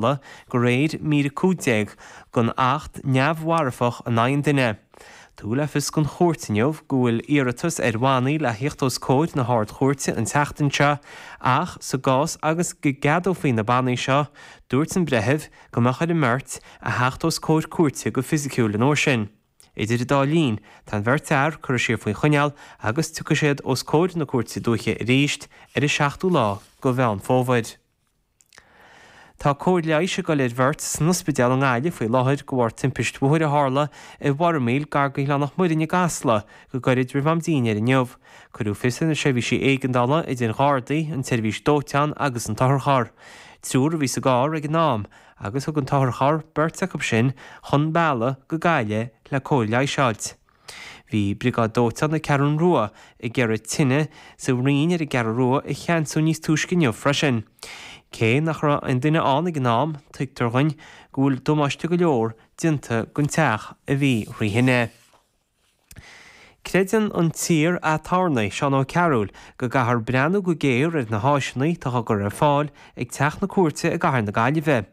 De réir mír 15 den Acht Neamh-Mharfach in aghaidh an duine. Tugadh le fios don chúirt inniu go bhfuil iarratas ar bhannaí le thíocht os comhair na hArd-Chúirte an tseachtain seo ach sa gcás agus go gceadófaí na bannaí seo, dúirt an breitheamh go mbeadh ar an mbeirt a theacht os comhair cúirte go fisiciúil an uair sin. Idir an dá linn, tá an bheirt fhear curtha siar faoi choinneáil agus tiocfaidh siad os comhair na Cúirte Dúiche arís ar an seachtú lá de Mheán Fómhair. Tá cóir leighis ag dul ar bheirt san ospidéal i nGaillimh faoi láthair de bharr timpist bhóthair a tharla i bhFormaoil gar go Oileán Mhuirinn i gCasla go gairid roimh am dínnéir inniu. Cuireadh fios ar na seirbhísí éigeandála, idir Ghardaí, an tseirbhís dóiteáin agus an t-otharcharr. Triúr a bhí sa gcarr ag an am agus thug an t-otharcharr beirt acu sin chun bealaigh go Gaillimh le cóir leighis a fháilt. Bhí Briogáid Dóiteáin na Ceathrún Rua ag iarraidh tine sa bhroinn ar an gCeathrú Rua a cheansú níos túisce inniu freisin. Cé nach raibh aon duine ann ag an am, tuigtear dhuinn go bhfuil damáiste go leor déanta don teach a bhí thrí thine. Creideann an t-iar-aturnae, Seán Ó Cearúil, go gcaithfear breathnú go géar ar na háiseanna atá á gcur ar fáil ag Teach na Cúirte i gcathair na Gaillimhe.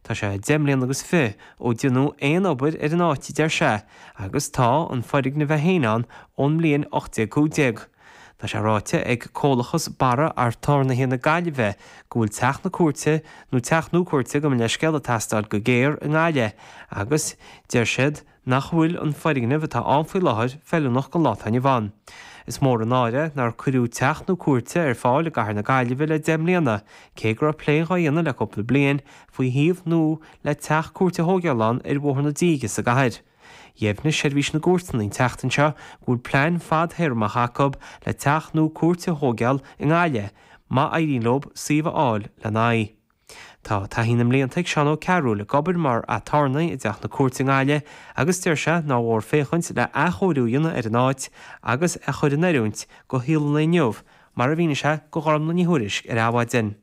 Tá sé 10 mbliana agus fi ó déanadh aon obair ar an áit, a deir sé, agus tá an foirgneamh é féin ann ón mbliain 1815. Tá sé ráite ag Comhlachas Barra Aturnaetha na Gaillimhe go bhfuil teach na cúirte, nó teach nua cúirte, gabh mo leithscéal, ag teastáil go géar i nGaillimh agus deir siad nach bhfuil an foirgneamh atá ann faoi láthair feiliúnach don lá atá inniu ann. Is mór an náire nár cuireadh teach nua cúirte ar fáil i gcathair na Gaillimhe le 10 mbliana, cé go raibh plé dhá dhéanamh le cúpla bliain faoi shuíomh nua le teach cúirte a thóigeáil ann ar Bhóthar na Díge sa gcathair. Dheimhnigh Seirbhís na gCúirteanna an tseachtain seo go bhfuil plean fadthéarmach acu le teach nua cúirte a thóigeáil i nGaillimh má éiríonn leo suíomh a fháil lena aghaidh. Tá taithí na mblianta ag Seán Ó Cearúil ag obair mar aturnae i dTeach na Cúirte i nGaillimh agus deir sé nár mhór féachaint le athchóiriú a dhéanamh ar an áit agus é a chur in oiriúint do shaol an lae inniu, mar a mhínigh sé do Ghormlaith Ní Thuairisg ar Adhmhaidin.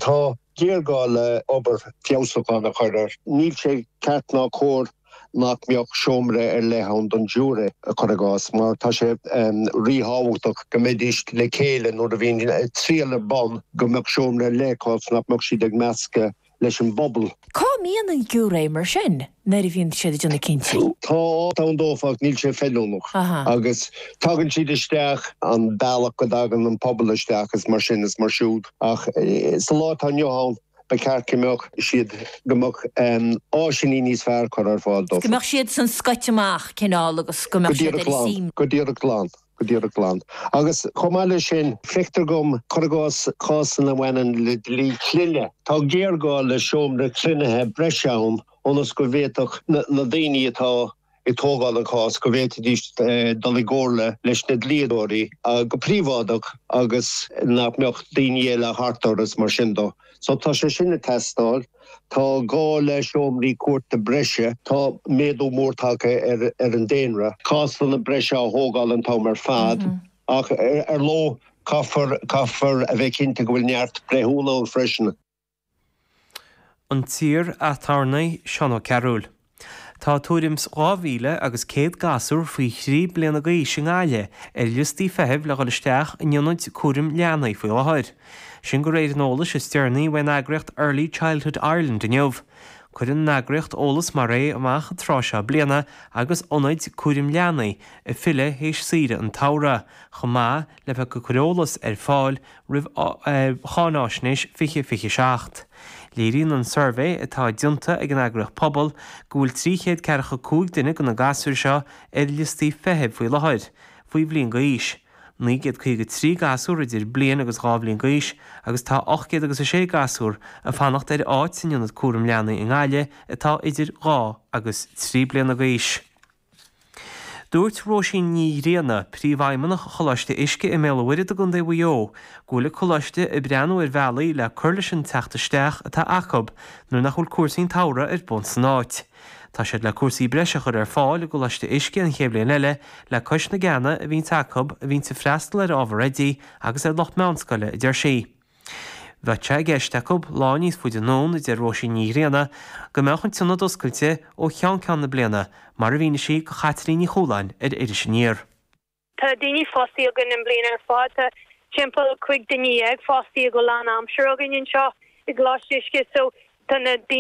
Tá géarghá le obair feabhsúcháin a chur air. Níl sé ceart ná cóir nach mbeadh seomra ar leith ann don giúiré, cuir i gcás, mar tá sé ríthábhachtach go mbeidís le chéile nuair a bhíonn triail ar bun, go mbeadh seomra ar leith acu nach mbeadh siad ag meascadh leis an bpobal. Cá mbíonn an giúiré mar sin nuair a bhíonn siad ag déanamh cinntí? Tá áit ann dófa ach níl sé feiliúnach agus tagann siad isteach an bealach go dtagann an pobal isteach is mar sin is mar siúd ach sa lá atá inniu ann ba cheart go mbeadh siad, go mbeadh áiseanna níos fearr curtha ar fáil dófa. Go mbeadh siad san scoite amach cineál agus go mbeadh siad ar a suim. Go díreach glan. Go díreach glan. Agus chomh maith leis sin, feictear dom, cuir i gcás, cásanna a bhaineann le dlí clainne, tá géarghá le seomra cruinnithe breise ann ionas go bhféadfadh na daoine atá ag tógáil an chás, go bhféadfaidís dul i gcomhairle leis na dlíodóirí go príobháideach agus nach mbeadh daoine eile thart orthu is mar sin dó. So tá sé sin ag teastáil. Tá gá le seomraí cúirte breise. Tá méadú mór tagtha ar an daonra. Cásanna breise á thógáil an t-am ar fad ach ar ndóigh caithfear caithfear a bheith cinnte go bhfuil neart breithiúna ann freisin. An t-iar-aturnae Seán Ó Cearúil. Tá tuairim 's 2,000 agus 100 gasúr faoi thrí bliana d'aois i nGaillimh ar liostaí feithimh le dhul isteach in ionaid cúraim leanaí faoi láthair. Sin de réir an eolais is deireanaí uaidh an eagraíocht Early Childhood Ireland inniu. Cuireann an eagraíocht eolas mar é amach an tráth seo bliana agus ionaid cúraim leanaí ag filleadh théis saoire an tsamhraidh, chomh maith le bheith ag cur eolas ar fáil roimh cháináisnéis 2027. Léiríonn an suirbhé atá déanta ag an eagraíocht Pobal go bhfuil 345 duine de na gasúir seo ar liostaí feithimh faoi láthair, faoi bhliain d'aois, 953 gasúr idir bliain agus 2 bhliain d'aois agus tá 806 gasúr ag fanacht ar áit san ionad cúram leanaí i nGaillimh atá idir 2 agus 3 bliana d'aois. Dúirt Róisín Ní Ghrianna, Príomhfheidhmeannach Choláiste Uisce i mBéal an Mhuirthead i gContae Mhaigh Eo, go bhfuil an coláiste ag breathnú ar bhealaí le cur leis an teacht isteach atá acu nuair nach bhfuil cúrsaí an tsamhraidh ar bun san áit. Tá siad le cúrsaí breise a chur ar fáil i gColáiste Uisce an chéad bhliain eile le cois na gceanna a bhíonns acu a bhíonns ag freastal ar ábhar oidí agus ar lucht meánscoile, a deir sí. Bheadh sé i gceist acu lá níos faide anonn, a deir Róisín Ní Ghrianna, go mbeadh an t-ionad oscailte ó cheann ceann na bliana, mar a mhínigh sí do Chaitlín Ní Chualáin ar Iris Aniar. Tá daoine fostaithe againn an bliain ar fad. Tá timpeall 15 duine fostaithe go lán aimsire againn anseo i gColáiste Uisce. So. Tá na daoine.